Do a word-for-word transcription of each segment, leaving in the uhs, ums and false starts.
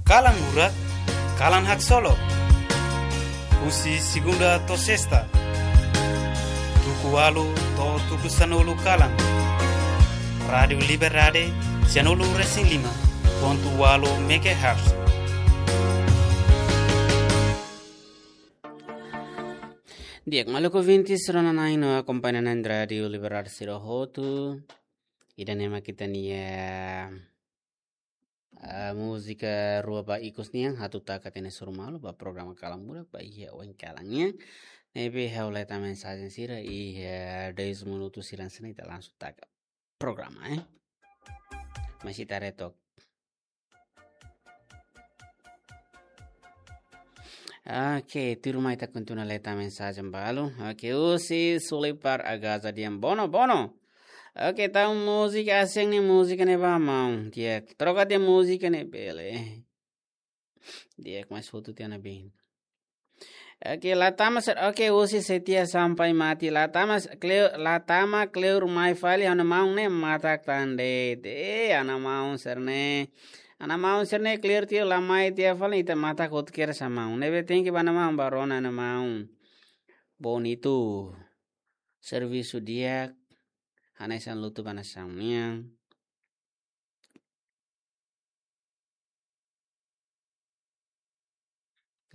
Kalan Murak, kalan haksolok. Husi segunda to'o sesta, tuku ualu to'o tuku sanulu kalan. Rádiu Liberdade, sanulu resin lima pontu ualu megahertz. Di'ak, maluk ouvintes, rona-na'in no akompaña na'in Rádiu Liberdade sira hotu. Ida-ne'e mak ita-nia, ah, múzika rua ba ikus nian, atu taka tiha ona soru malu ba programa Kalan Murak ba iha oin kalan nian. Ne'ebé ha'u leta mensajen sira iha dez minutu sira-ne'e ita langsung taka programa, eh. Masih taretok. Oke, tuirmai ita kontinua leta mensajen balu. Oke, husi Sulipar Agaza dehan bono, bono. Oke, tau múzika asing ne'e, múzika ne'e ba maun. Di'ak, troka tiha múzika ne'e bele. Di'ak, mais hotu tiha ona bem. Oke, la tama ser, oke, husi Setia Sampai Mati. La tama s-, kleur, la tama kleur mai fali, ha'u-nia maun ne'e matak tan de'it. Eh, ha'u-nia maun sira-ne'e. Ha'u-nia maun sira-ne'e kleur tiha la mai tiha fali, ita matak hotu kedas ha'u-nia maun. Ne'ebé tenke ba ha'u-nia maun, ba rona ha'u-nia maun. Bonitu. Servisu di'ak. Hanesan lutu ba nasaun nian.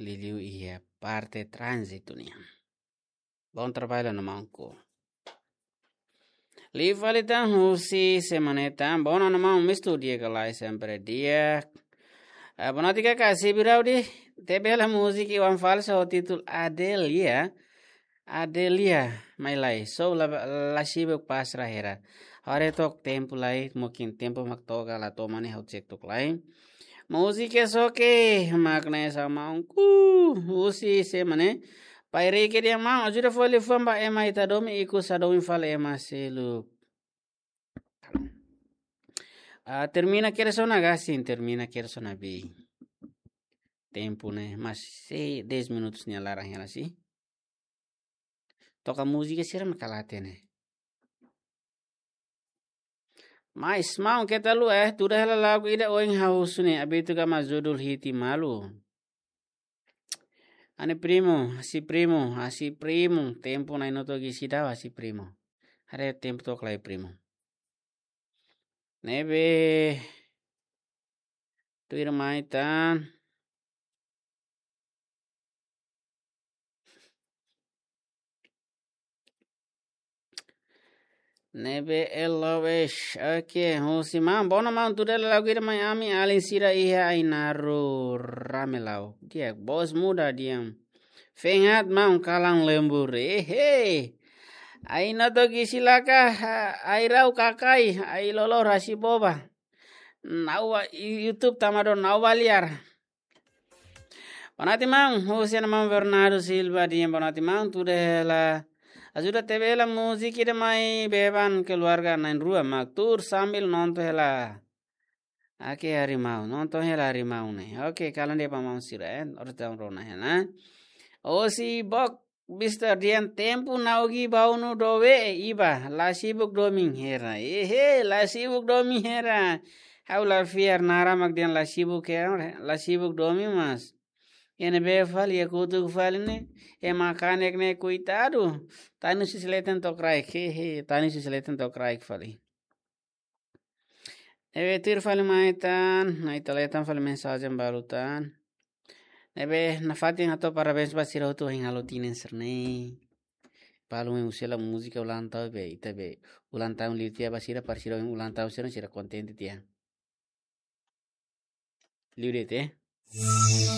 Liuliu iha parte tránzitu nian. Bom trabalho, ha'u-nia maun. Liu fali tan husi Semaneta, bom, ha'u-nia maun, mistu di'ak ka lae, sempre di'ak. Ah, bonotika ka si birau di, tebe hela múzika Iwan Fals ho títulu Adelia. Adelia, mai lai. So la, la sibuk pas rahera. Ha'u haree took tempu lai, mungkin tempu mak to'o ka la to'o mane ha'u cek took lai. Múzika soke, mak ne'e sa maun ku, husi Semaneta. Pai Rike dehan maun, ajuda fó liafuan ba ema ita domin, ikus sa domin fali ema seluk. Ah, termina kedas ona ka, sin, termina kedas ona bem. Tempu ne'e, masih dez minutos nia laran hela si. Toka múzika sira mak la hatene. Mais, maun, keta haluha, eh, tuda hela lagu ida ohin ha'u husu ne'e, Abitu Gama judul Hiti Malu. Ha'u-nia primu, ha'u-nia primu, ha'u-nia primu, tempu na'in-neen to'o iha seidauk ha'u-nia primu. Haree tempu took lai primu. Ne'ebé tuirmai tan. Ne'ebé elo wes, oke, husi maun, bom maun, tuda hela lagu ida mai ami alin sira iha Ainaro, Ramelau. Di'ak, bos muda dehan. Fengat maun, kalan lembur, ehe. Ai noto gisi laka, ai rau kakai, ai lolo rasi boba. Nau ba YouTube tama do nau ba liar. Bonoite maun, husi ha'u-nia maun Bernardo Silva dehan bonoite maun, tuda hela. Ajuda tebe hela múzika ida mai beban keluarga na'in-rua mak tuur sambil nonton hela. Oke, harimau, nonton hela harimau ne'e. Oke, kalan di'ak ba maun sira, eh. Ora tau rona hela. Husi Bok Mister dehan tempu Naogi Baunu dowe iba, la sibuk domin hera. Ehe, la sibuk domin hera. Ha'u la fiar naran mak dehan la sibuk hera, la sibuk domin mas. Ne'ebé fali, iha kutuk fali ne'e, ema kanek ne'e koitadu. Tan husi leten to'o kraik, hehe, tan husi leten to'o kraik fali. Ne'ebé tuir fali mai tan, nai ita leten fali mensajen balu tan. Ne'ebé nafatin hato'o parabéns ba sira hotu ohin halo tinan sira-ne'e. Balu mai husu hela múzika ulang tahun be, ita be ulang tahun liu tiha ba sira, para sira ohin ulang tahun sira, sira kontente tiha. Liu de'it, eh.